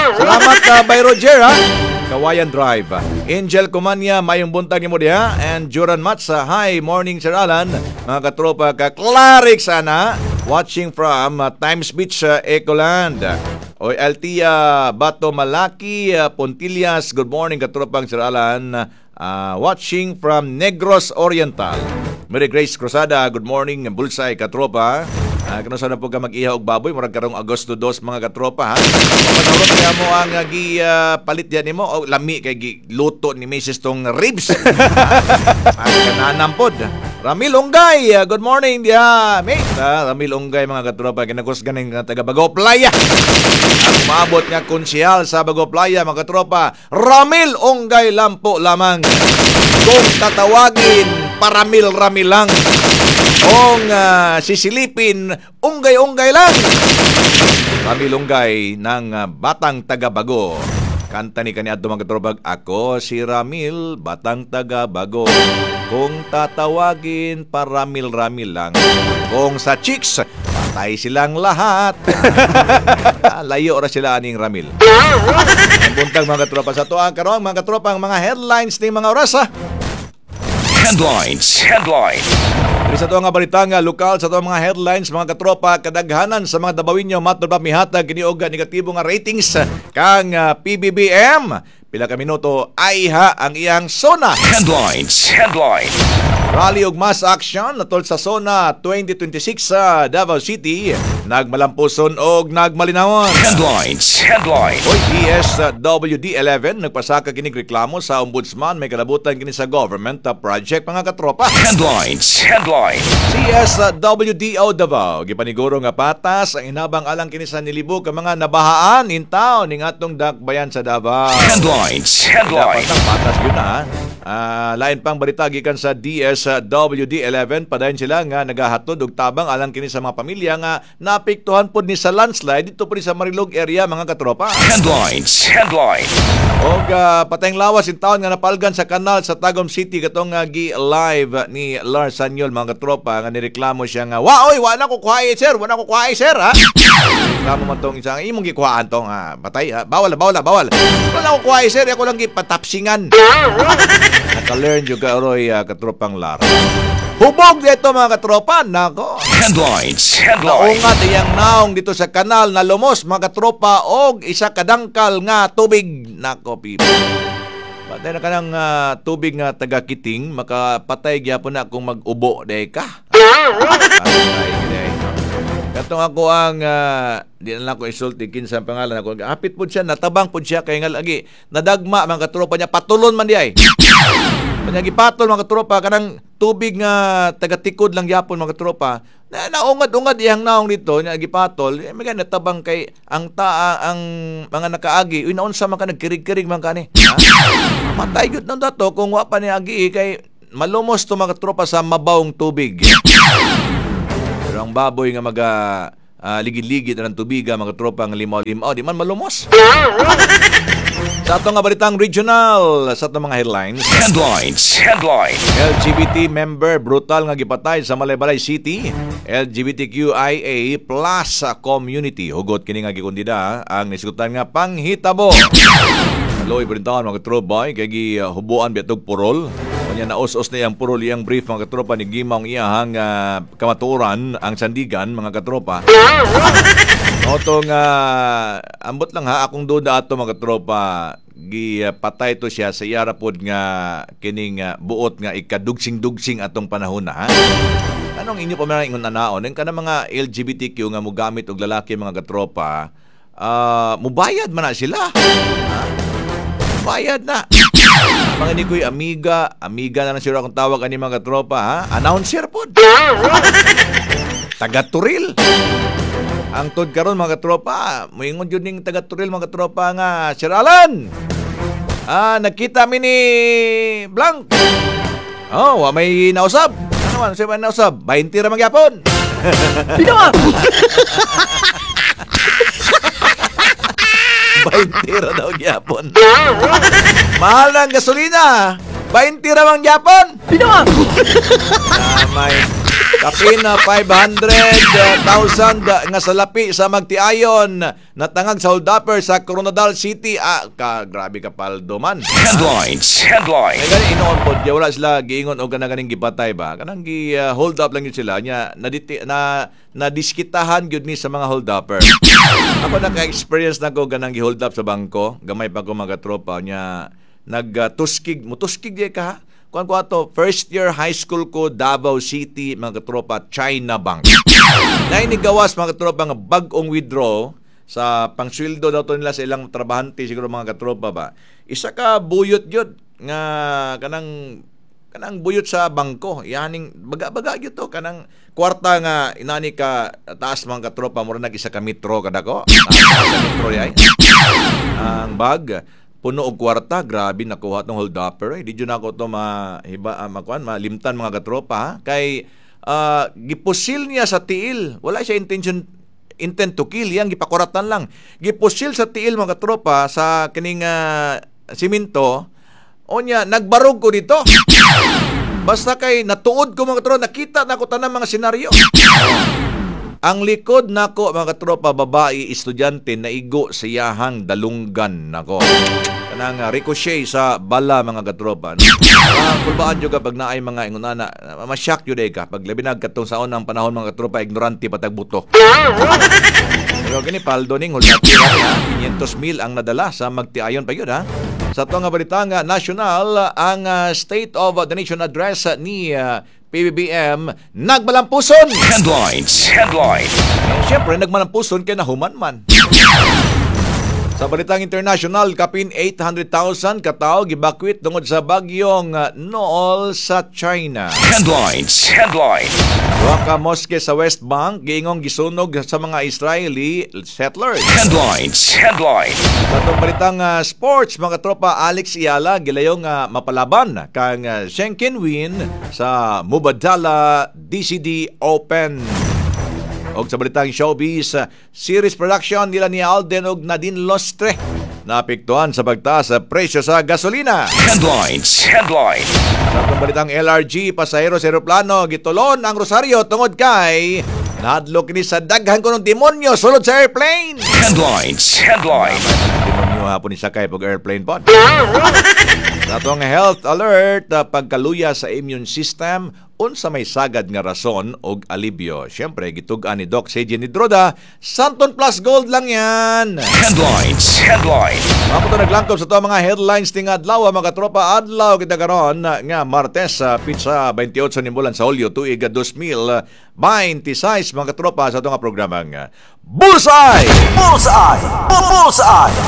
Salamat, by Roger, ha. Kawayan Drive. Angel Comania, mayong buntag nimo diha. And Joran Matsa, hi, morning Sir Alan. Mga katropa ka Clarix ana, watching from Times Beach, Ecoland. Oy Altia Bato Malaki, Pontillas, good morning katropang Sir Alan. Watching from Negros Oriental. Mary Grace Cruzada, good morning, Bulsay katropa. Kano sana po ka mag-iha og baboy, murag karong Agosto 2 mga katropa ha. Papanawag kaya mo ang gi palit yan nimo o lami kay gi luto ni Mrs. tong ribs. Ang kananam pod. Ramil Ungay, good morning diha, mate. Ramil Ungay mga katropa, kinakos ganing taga Bago Playa. Ang maabot nga konsehal sa Bago Playa mga katropa, Ramil Ungay lampo lamang. Kung tatawagin, paramil-ramil lang. Kung sisilipin, unggay-unggay lang. Ramil Ungay ng Batang Taga-Bago. Kanta ni kaniadto mga katropa, ako si Ramil, Batang Taga-Bago. Kung tatawagin, paramil-ramil lang. Kung sa chicks, patay silang lahat. Layo ra sila aning Ramil. Ang buntag mga katropa sa tuang karon mga katropa ang mga headlines ni mga oras ha. Headlines. Headlines. Diri sa tuang nga balita nga lokal sa tuang mga headlines mga katropa, kadaghanan sa mga Dabawinyo matod pa mihatag kini og negatibo nga ratings kang PBBM. Pila ka minuto ay ha ang iyang SONA. Headlines. Headlines. Rally og mass action natol sa SONA 2026 sa Davao City, nagmalampuson og nagmalinawon. Headlines. Headlines. Oy, DSWD 11 nagpasaka kinig reklamo sa ombudsman may kalabutan kini sa government project mga katropa. Headlines. Headlines. CSWDO Davao gipaniguro nga patas ang inabang alang kini sa nilibog ka mga nabahaan in town ning atong dakbayan sa Davao. Headlines. Dapat Headlines. ang patas yun na. Lain pang balita gikan sa DSWD 11, padayon sila nga nagahatod og tabang alang kini sa mga pamilya nga naapektuhan pod ni sa landslide dito pod ni sa Marilog area mga katropa. Headlines. Headlines. Og patayng lawas in taon nga napalgan sa kanal sa Tagum City katong gi live ni Lars Sanyol mga katropa nga nireklamo siya nga wa oy wa na ko kuhae sir, wa na ko kuhae sir ha. Reklamo man tong isang imong gikuhaan tong patay ha? Bawal bawal bawal. Wala ko kuhae sir, ako lang gipatapsingan. Naka-learn jud ka oroy katropang Lar. Hubog dito mga katropa, nako. Headlines. Headlines. Naungat iyang naong dito sa kanal na lumos mga katropa og isa kadangkal nga tubig. Nako people. Patay na kanang tubig nga taga-kiting, makapatay gyapon na kung mag-ubo day ka. Patay day. Katong ako ang di na lang ko isulti kinsa ang pangalan ako. Hapit pud siya, natabang pud siya kay nga lagi nadagma mga katropa niya, patulon man di ay. Kanya gipatol mga katropa kanang tubig nga tagatikod lang gyapon mga katropa. Na naungad-ungad iyang naong dito nya gipatol, eh, may natabang kay ang taa ang mga nakaagi. Uy, naunsa man ka nagkirig-kirig man kani. Ha? Matay gyud nang dato kung wa pa ni agi kay malumos to mga katropa sa mabawong tubig. Pero ang baboy nga maga ligid-ligid na ng tubiga mga katropa nga limaw-limaw di man malumos. Sa atong nga balitang regional, sa atong mga headlines. Headlines. Headlines. LGBT member brutal nga gipatay sa Malaybalay City. LGBTQIA+ community. Hugot kini nga gikundida ang nisgutan nga panghitabo. Loy brintahan mga katropa kay gihubuan biatog purol. Unya naos-os na iyang purol iyang brief mga katropa ni gimong iyahang kamatuoran ang sandigan mga katropa. Oto nga ambot lang ha akong duda ato mga katropa gipatay to siya sa iyara pod nga kining buot nga ikadugsing-dugsing atong panahon na ha. Anong inyo pa man ingon anaon ang kanang mga LGBTQ nga mogamit og lalaki mga katropa, mubayad man na sila. Ha? Bayad na. Mga ni ko'y amiga, amiga na lang siguro akong tawag ani mga katropa ha. Announcer pod. Taga-Turil. Ang tod karon mga katropa, moingon jud ning taga-Turil mga katropa nga Sir Alan. Nagkita mi ni Blanc. Oh, wa may nausab. Ano man, sa may nausab? 20 ra magyapon. Bitaw! 20 ra daw gyapon. Mahal na ang gasolina. 20 ra man gyapon. Bitaw! Damay. Kapin na 500,000 nga salapi sa magtiayon natangag sa holdupper sa Koronadal City. Ah, ka, grabe ka paldo man. Headlines. Ay Headline. gani inoon pod, ya wala sila giingon og kanang ganing gipatay ba. Kanang gi hold up lang yun sila nya naditi, na nadiskitahan gyud ni sa mga hold upper. Ako, naka-experience na ko ganang gi-hold up sa bangko. Gamay pa ko, mga tropa, nya nagtuskig, mutuskig di ka ha. Kuan ko ato, first year high school ko, Davao City, mga tropa, China Bank. Naay gawas, mga katropa, nga bag-ong withdraw sa pangsweldo daw to nila sa ilang trabahante siguro, mga katropa ba. Isa ka buyot yun nga kanang kanang buyot sa bangko. Yaning baga-baga gyud to, kanang kwarta nga inani ka taas, mga katropa, mura nag isa ka metro kadako. Ah, sa metro ay. Ang bag puno og kwarta, grabe nakuha tong hold upper. Eh, di jud nako to mahiba, makuan, malimtan, mga katropa ha? Kay gipusil niya sa tiil. Wala siya intention, intent to kill, yang gipakuratan lang. Gipusil sa tiil, mga katropa, sa kining simento. Onya nagbarog ko dito. Basta kay natuod ko, mga katropa, nakita na ko tanang mga senaryo. Ang likod nako, mga katropa, babae estudyante naigo sa iyahang dalunggan nako. Kanang ricochet sa bala, mga katropa. No? Kulbaan jud ka pag naay mga ingunana, ma-shock jud ka pag labi na katong sa unang panahon, mga katropa, ignorante patag buto. Pero kini paldo ning hold up ha, 500 mil ang nadala sa magtiayon pa yun ha. Sa ato nga balita nga national, ang State of the Nation Address ni PBBM nagmalampuson. Headlines. Headline. Eh, siyempre, nagmalampuson kay nahuman man. Sa balitang international, kapin 800,000 katao gibakwit tungod sa bagyong Noul sa China. Headlines. Headline. Duha ka mosque sa West Bank giingong gisunog sa mga Israeli settlers. Headlines. Headline. Sa atong balitang sports, mga tropa, Alex Eala gilayong mapalaban kang Zheng Qinwen sa Mubadala DCD Open. Og sa balitang showbiz, series production nila ni Alden og Nadine Lustre naapektuhan sa pagtaas sa presyo sa gasolina. Headlines. Headline. Sa atong balitang LRG, pasahero sa eroplano gitulon ang rosaryo tungod kay nahadlok kini sa daghan kunong demonyo sulod sa airplane. Headlines. Headline. Demonyo hapon ni sakay pag airplane pod. Sa atong health alert, pagkaluya sa immune system, unsa may sagad nga rason og alibyo. Siyempre, gitug-an ni Doc CJ Nidroda, Santon Plus Gold lang yan. Headlines. Headline. Mao to naglangkob sa ato mga headlines ting adlaw, mga tropa. Adlaw kita karon nga Martes sa pitsa 28 ni bulan sa Hulyo tuig 2026, mga tropa, sa ato nga programang Bullseye! Bullseye! Bullseye!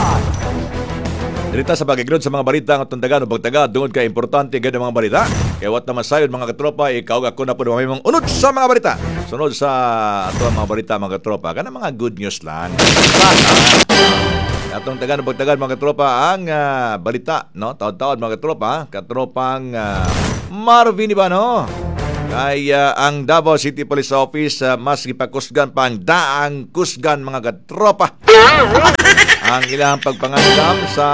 Dirita sa pag-ignod sa mga balita ng atong taga no pagtaga tungod kay importante gid ang mga balita. Kay wat naman sayon, mga katropa, ikaw ako na po mamimong unod sa mga balita. Sunod sa ato ang mga balita, mga katropa, kana mga good news lang. Sana atong taga no pagtaga, mga katropa, ang balita, no? Taod-taod, mga katropa, katropang Marvin Ibano. Kay ang Davao City Police Office mas gipakusgan pa ang daang kusgan, mga katropa, ang ilang pagpangandam sa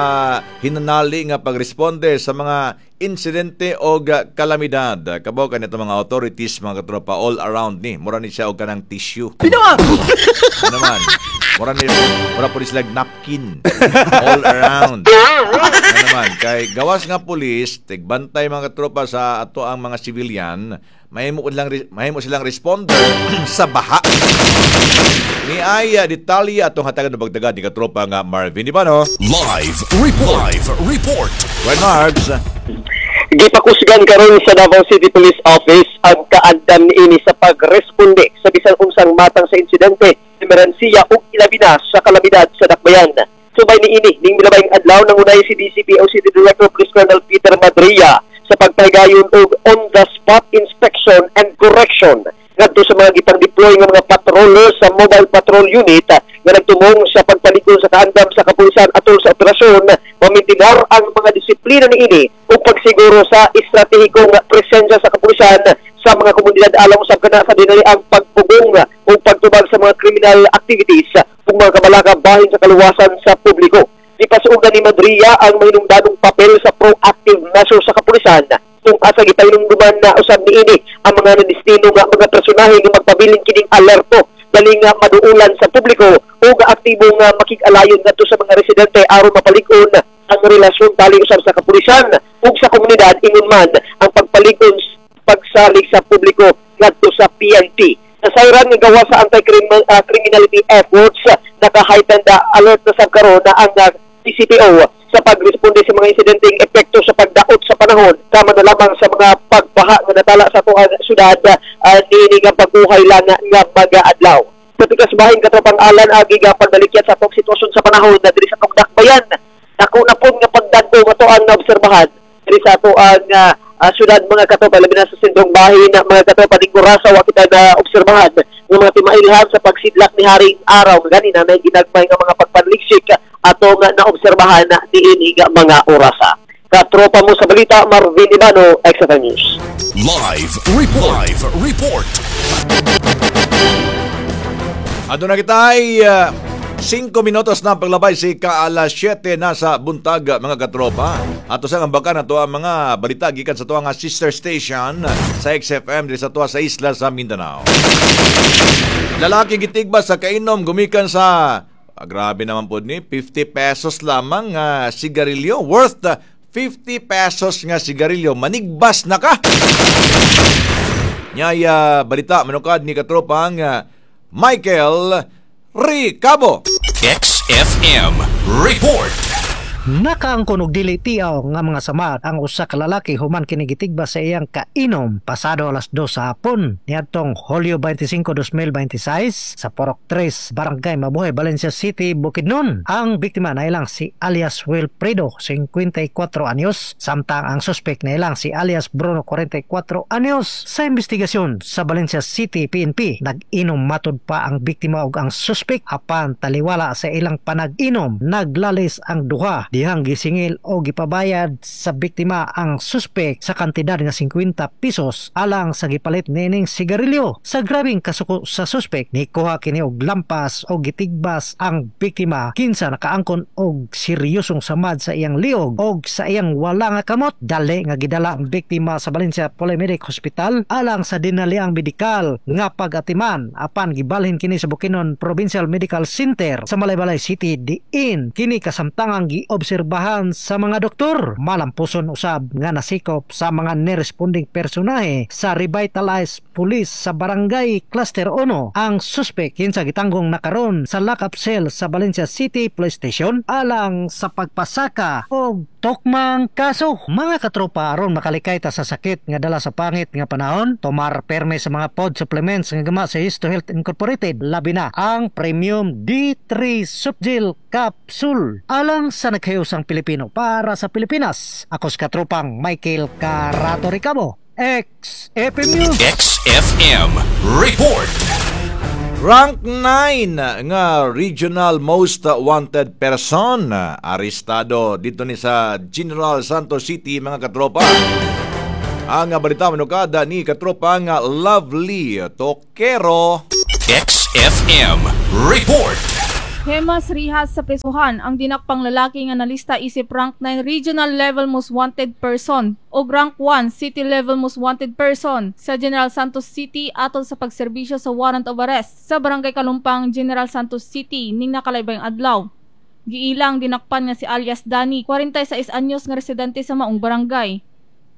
hinanali nga pagresponde sa mga insidente o kalamidad. Kabaw ka nito mga authorities, mga katropa, all around ni. Mura ni siya og kanang tissue. Pinawa! Ano naman? Mura po ni sila napkin. All around. Ano naman? Kay gawas nga pulis, tigbantay, mga katropa, sa ato ang mga civilian, mahimo silang responder sa baha. Ni ay detalye atong hatagan ng pagtaga ni katropa nga Marvin Ibano. Live report. Live report. Well, Marbs. Gipakusgan karon sa Davao City Police Office ang kaandam niini sa pagresponde sa bisan unsang matang sa insidente, emerhensiya ug ilabi na sa kalamidad sa dakbayan. Subay niini, ning milabayng adlaw nangunay si DCPO City Director Police Colonel Peter Madria sa pagpahigayon og on the spot inspection and correction ngadto sa mga gipang-deploy nga mga patroller sa Mobile Patrol Unit nga nagtumong sa pagpalig-on sa kaandam sa kapulisan atol sa operasyon, mamintinar ang mga disiplina niini ug pagsiguro sa estratehikong presensya sa kapulisan sa mga komunidad alang usab kana sa dinali ang pagpugong ug pagtubag sa mga criminal activities ug mga kabalaka bahin sa kaluwasan sa publiko. Gipasuogan ni Madria ang mahinungdanong papel sa proactive measure sa kapulisan. Kung asa gipahinumduman na usab niini ang mga nadestino nga mga personahe nga magpabilin kining alerto, dali nga maduulan sa publiko ug aktibo nga makig-alayon ngadto sa mga residente aron mapalig-on ang relasyon tali usab sa kapulisan ug sa komunidad, ingon man ang pagpalig-on pagsalig sa publiko ngadto sa PNP. Nasayran nga gawa sa anti-criminality efforts, naka-heightened alert na sab karon na ang PCPO sa pagresponde sa mga insidenteng epekto sa pagdaot sa panahon, kama na lamang sa mga pagbaha nga natala sa atoang syudad niini nga pag-uhay lang nga mga adlaw. Sa tikas bahin, katropang Alan, agi nga pagbalikyan sa atong sitwasyon sa panahon na diri sa atong dakbayan, dako na pud nga pagdagko nga atoang naobserbahan diri sa atoang syudad, mga katropa, labi na sa sindong bahin, mga katropa, ning orasa wa kita na obserbahan ng mga timailhan sa pagsidlak ni Haring Araw. Gani na may ginagmay nga mga pagpanliksik atong naobserbahan na niini nga mga orasa. Katropa mo sa balita, Marvin Ibano, XFM News. Live Report. Live Report. Aduna kita ay 5 minutos na paglabay si ka-alas 7 na sa buntag, mga katropa. Ato sa ambakan ato ang mga balita gikan sa tuwa nga sister station sa XFM diri sa tuwa sa isla sa Mindanao. Lalaki gitigba sa kainom gumikan sa grabe naman pod ni 50 pesos lamang sigarilyo, worth 50 pesos nga sigarilyo, manigbas na ka. Nyaya balita manukad ni katropang Michael Ricabo. XFM Report. Nakaangkon og dili tiaw nga mga samad ang usa ka lalaki human kini gitigba sa iyang kainom pasado alas 2 sa hapon niadtong Hulyo 25, 2026 sa Porok 3, Barangay Mabuhay, Valencia City, Bukidnon. Ang biktima na ilang si alias Wilfredo, 54 anyos, samtang ang suspek na ilang si alias Bruno, 44 anyos. Sa investigasyon sa Valencia City PNP, nag-inom matud pa ang biktima ug ang suspek, apan taliwala sa ilang panag-inom, naglalis ang duha dihang gisingil o gipabayad sa biktima ang suspek sa kantidad nga 50 pesos alang sa gipalit niining sigarilyo. Sa grabing kasuko sa suspek, nikuha kini og lampas o gitigbas ang biktima kinsa nakaangkon og seryosong samad sa iyang liog og sa iyang wala nga kamot. Dali nga gidala ang biktima sa Valencia Polymedic Hospital alang sa dinaliang medikal nga pag-atiman, apan gibalhin kini sa Bukidnon Provincial Medical Center sa Malaybalay City diin kini kasamtangang giobserbahan sa mga doktor. Malampuson usab nga nasikop sa mga niresponding personahe sa Revitalized Police sa Barangay Cluster 1 ang suspek kinsa gitanggong nakaron sa lockup cell sa Valencia City Police Station alang sa pagpasaka og tokmang kaso. Mga katropa, aron makalikay ta sa sakit nga dala sa pangit nga panahon, tomar perme sa mga pod supplements nga gama sa Histo Health Incorporated, labi na ang Premium D3 Subgel Capsule. Alang sa nagkayusang Pilipino para sa Pilipinas, ako sa katropang Michael Carato Ricabo, XFM News. XFM Report. Rank 9 nga regional most wanted person arestado dito ni sa General Santos City, mga katropa. Ang balita manukada ni katropa nga Lovely Tokero. XFM Report. Hemas rihas sa presuhan ang dinakpang lalaki nga nalista isip rank 9 regional level most wanted person o rank 1 city level most wanted person sa General Santos City atol sa pagserbisyo sa warrant of arrest sa Barangay Kalumpang, General Santos City ning nakalaybayng adlaw. Giilang dinakpan nga si alias Danny, 46 anyos nga residente sa maong barangay.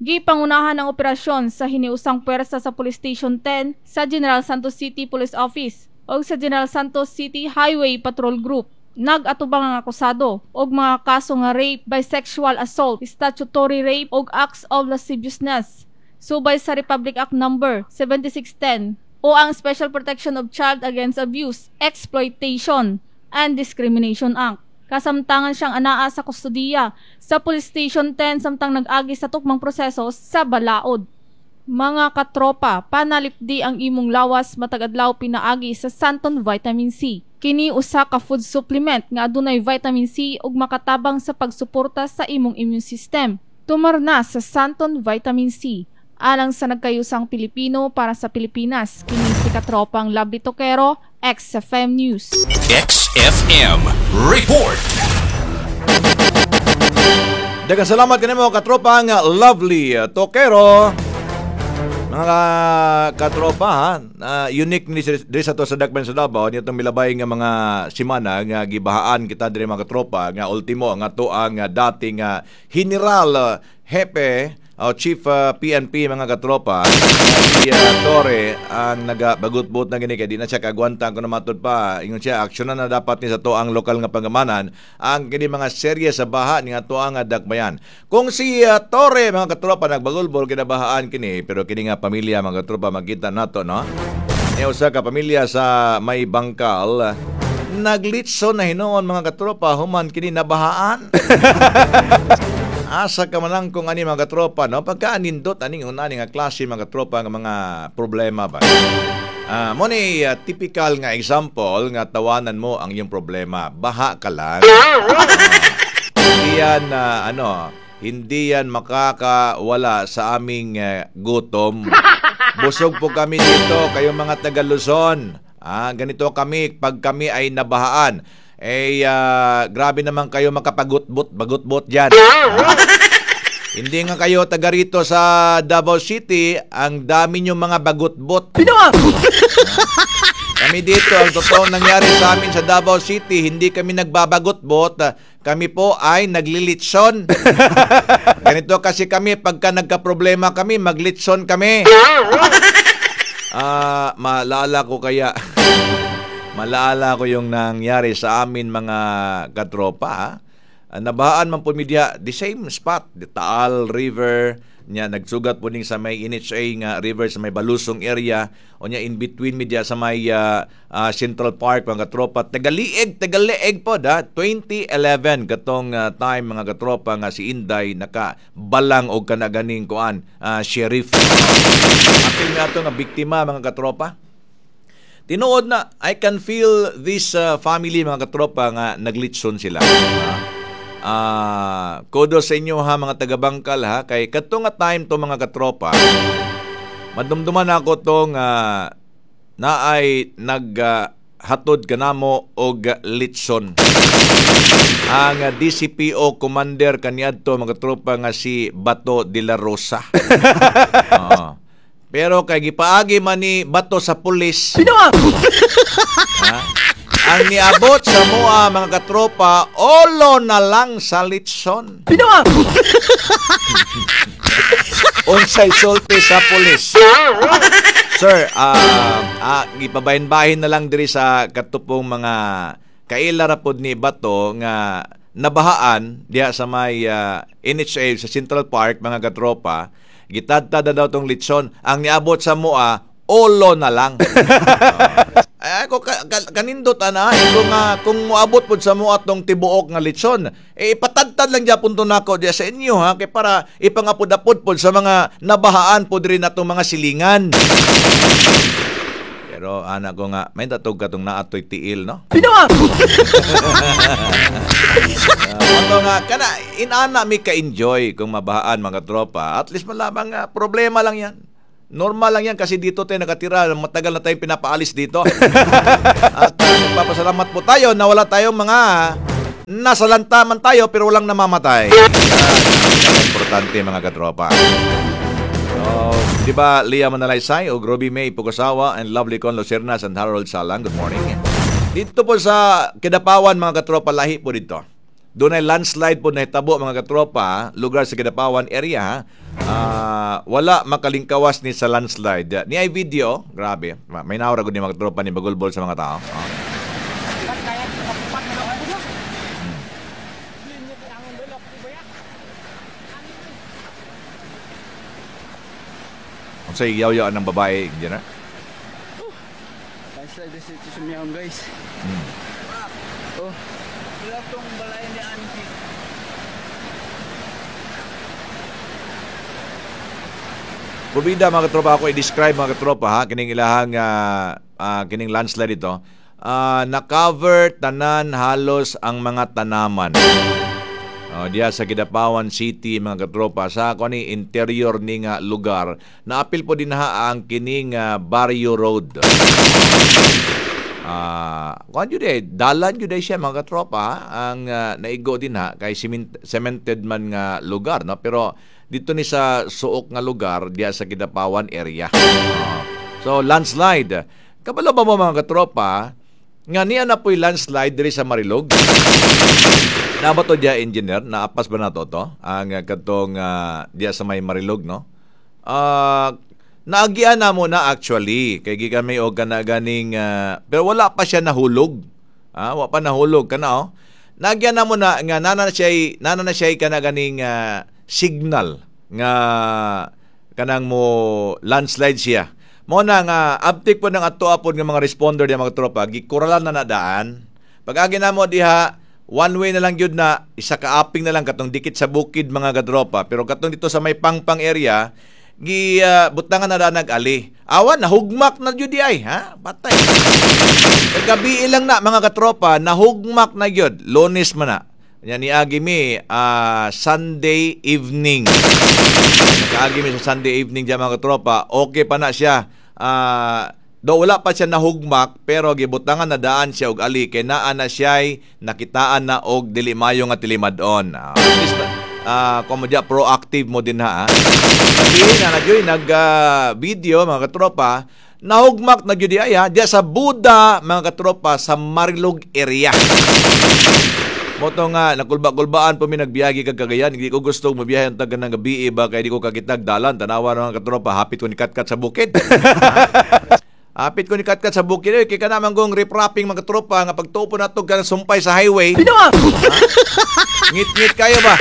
Gipangunahan ang operasyon sa hiniusang puwersa sa Police Station 10 sa General Santos City Police Office o sa General Santos City Highway Patrol Group. Nag-atubang ang akusado og mga kaso nga rape by sexual assault, statutory rape og acts of lasciviousness subay sa Republic Act Number 7610 o ang Special Protection of Child Against Abuse, Exploitation and Discrimination Act. Kasamtangan siyang anaa sa kustodiya sa Police Station 10 samtang nag-agi sa tukmang proseso sa balaod. Mga katropa, panalipdi ang imong lawas matag adlaw pinaagi sa Santon Vitamin C. Kini usa ka food supplement nga adunay vitamin C ug makatabang sa pagsuporta sa imong immune system. Tumar na sa Santon Vitamin C. Alang sa nagkayusang Pilipino para sa Pilipinas, kini si katropang Lovely Tokero, XFM News. XFM Report. Daghang salamat kanimo katropang Lovely Tokero. Mga katropa ha, unique ni diri sa to sa Dakbayan sa Davao nitong milabay nga mga simana nga gibahaan kita diri mga katropa nga ultimo nga to ang dating General Hepe o Chief PNP mga katropa si Torre ang nagabagutbot na gini kay di na siya kagwanta kung matud pa ingon siya aksyonan na dapat ni sa to ang lokal nga pangamanan ang kini mga serye sa baha ni ato ang Dakbayan. Kung si Torre mga katropa nagbagulbol kinabahaan kini pero kini nga pamilya mga katropa makita nato no. Niya usa ka pamilya sa may Bangkal naglitso na hinuon mga katropa human kini nabahaan. Asa ka man lang kung ani mga katropa, no? Pagka anindot, aning unani nga klase mga katropa nga mga problema ba? Mo ni typical nga example nga tawanan mo ang iyong problema. Baha ka lang. Hindi yan, hindi yan makakawala sa aming gutom. Busog po kami dito, kayong mga taga Luzon. Ganito kami pag kami ay nabahaan. Grabe naman kayo makapagutbot-bagutbot dyan. Hindi nga kayo taga rito sa Davao City, ang dami nyo mga bagutbot. Kami dito, ang totoong nangyari sa amin sa Davao City, hindi kami nagbabagutbot, kami po ay naglilitson. Ganito kasi kami, pagka nagka-problema kami, maglitson kami. Maalala ko kaya... Malaala ko yung nangyari sa amin mga katropa. Nabahaan man po media, the same spot, the Taal River, niya nagsugat po ning sa may NHA nga river sa may Balusong area, o niya in between media sa may Central Park mga katropa. Tagalieg po da 2011 katong time mga katropa nga si Inday nakabalang og kanaganing kuan sheriff. Apil nga ato nga biktima mga katropa. Tinuod na, I can feel this family mga katropa nga naglitson sila. Kudos sa inyo ha mga taga-Bangkal ha, kay kadto nga time to mga katropa, madumduman ako tong naay naghatod kanamo og litson. Ang DCPO commander kaniadto mga katropa nga si Bato de la Rosa. Pero kay gipaagi man ni Bato sa pulis. Ang niabot sa mua mga katropa, olo na lang sa litson. Unsay sulti sa pulis. Sir, gipabahin-bahin na lang diri sa katupong mga kaila ra pod ni Bato nga nabahaan diha sa may NHA sa Central Park mga katropa. Gitadtad na daw tong litson. Ang niabot sa mua, olo na lang. Ay, ko kanindot ana kung moabot pod sa mua tong tibuok nga litson, eh ipatadtad lang gyapon to nako diya sa inyo ha kay para ipangapod-apod pod sa mga nabahaan pod rin natong mga silingan. Pero ana ko nga may tatog katong naatoy tiil no. Ato nga kana inana mi ka-enjoy kung mabahaan mga tropa. At least malamang problema lang yan. Normal lang yan kasi dito tayo nakatira. Matagal na tayong pinapaalis dito. At nagpapasalamat po tayo na wala tayong mga nasalantaman tayo pero walang namamatay. Importante mga katropa. So, di ba Leah Manalaysay o Groby May Pukasawa and Lovely Con Lucernas and Harold Salang. Good morning. Dito po sa Kidapawan mga katropa, lahi po dito. Doon ay landslide po nahitabo mga katropa, lugar sa Kidapawan area. Wala makalingkawas ni sa landslide. Ni ay video, grabe. May naura gud ni mga katropa ni bagulbol sa mga tao. Unsay yaw-yaw ng babae, engineer? Landslide dito sa Miyaon, guys. Oh. Wala tong balay ni Angie. Pubida mga katropa, ako i-describe mga katropa ha, kining ilahang kining landslide ito. Na-cover tanan halos ang mga tanaman. Diya sa Kidapawan City mga katropa, sa kani interior ni nga lugar, naapil po din ha ang kining Barrio Road. Kuan jud dalan jud siya mga katropa ang naigo din ha kay cemented man nga lugar, no, pero dito ni sa suok nga lugar diya sa Kidapawan area. So landslide. Kabalo ba mo mga katropa nga niya na po'y landslide diri sa Marilog? Na ba to diya, engineer? Naapas ba na to? Ang katong diya sa may Marilog, no? Naagian na mo na actually kay gikan may og kana ganing pero wala pa siya nahulog. Wa pa nahulog kana oh. Naagian na mo na nga nana na siya kana ganing signal nga kanang mo landslide siya. Mo na nga abtik po ng ato apod nga mga responder diya mga tropa, gikuralan na daan. Pag-agi na mo diha, one way na lang gyud na, isa ka aping na lang katong dikit sa bukid mga katropa. Pero katong dito sa may Pangpang area, gi butangan na daan nag-ali. Awan, nahugmak na gyud ay, ha? Patay. Kagabi lang na mga katropa, nahugmak na gyud. Lunes man na. Yan niagi mi Sunday evening. Nakaagi mi sa Sunday evening diyan mga katropa. Okay pa na siya. Do wala pa siya nahugmak pero gibutangan na daan siya og ali kay naa na siya'y nakitaan na og dili mayo nga tilimad-on. At least kung mo diya proactive mo din ha. Sabihin na nagyoy nag video mga katropa, nahugmak na gyud ay ha diya sa Buda mga katropa sa Marilog area. Moto nga nakulba-kulbaan po mi nagbiyagi kag Cagayan, hindi ko gusto mabiyahe ang taga ng gabi ba kay di ko kakitag dalan tanawa mga katropa, hapit ko ni katkat sa bukid. Hapit ko ni katkat sa bukid kay kana man gong riprapping mga katropa nga pagtupo nato ka sumpay sa highway. Ngit-ngit kayo ba?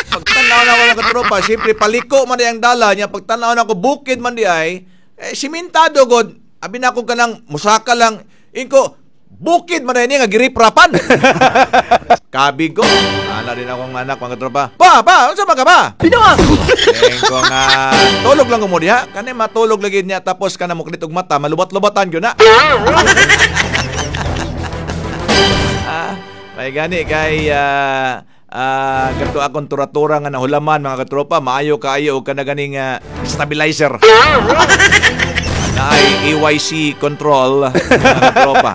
Pagtanaw na ako mga katropa, siyempre paliko man di ang dala niya, pagtanaw na ako bukid man di ay simentado god. Abi na ako kanang musaka lang inko bukid man ini nga giriprapan. Kabig ko. Ana din akong anak mga katropa. Pa, unsa man ka ba? Pinoa. Ko nga tulog lang ko mo diha. Kani matulog lagi niya tapos kana muklit og mata, malubat-lubatan gyud na. May gani kay kadto akong turatura nga nahulaman mga katropa, maayo kaayo og kana ganing stabilizer. Na ay AYC control mga katropa.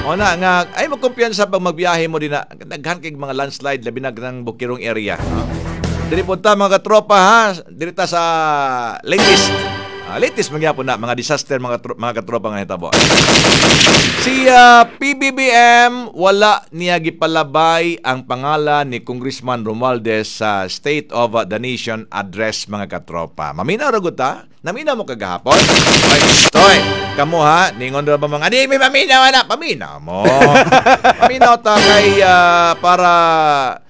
O na nga ay magkumpiyansa pag magbiyahe mo din na daghan kay mga landslide labi na ng Bukirong area. Diri punta mga katropa ha, diri ta sa latest. Latest magyapon na mga disaster mga katropa nga hitabo. Si PBBM wala niya gipalabay ang pangalan ni Congressman Romualdez sa State of the Nation address mga katropa. Maminaw ra gud ta? Naminaw mo kagahapon? Ay, toy, kamo ha, ningon ra ba mga di may maminaw ana, paminaw mo. Paminaw ta kay para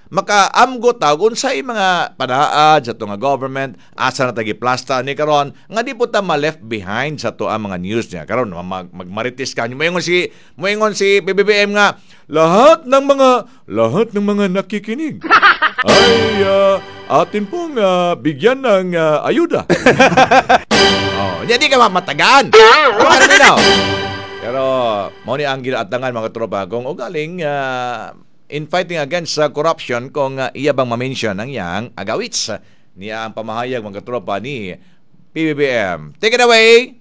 makaamgo ta unsay mga panaad sa tunga government, asa na tagi plasta ni karon nga di po ta ma-left behind sa to ang mga news niya karon. Magmarites ka moingon si PBBM nga lahat ng mga nakikinig ay atin pong bigyan ng ayuda. Oh, hindi ka mamatagan. Pero mao ni ang ginaatangan mga tropa kung ugaling in fighting against corruption kung iya bang ma-mention ang iyang agawits niya ang pamahayag mga katropa ni PBBM. Take it away!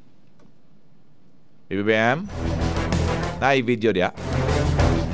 PBBM? Naay video diya.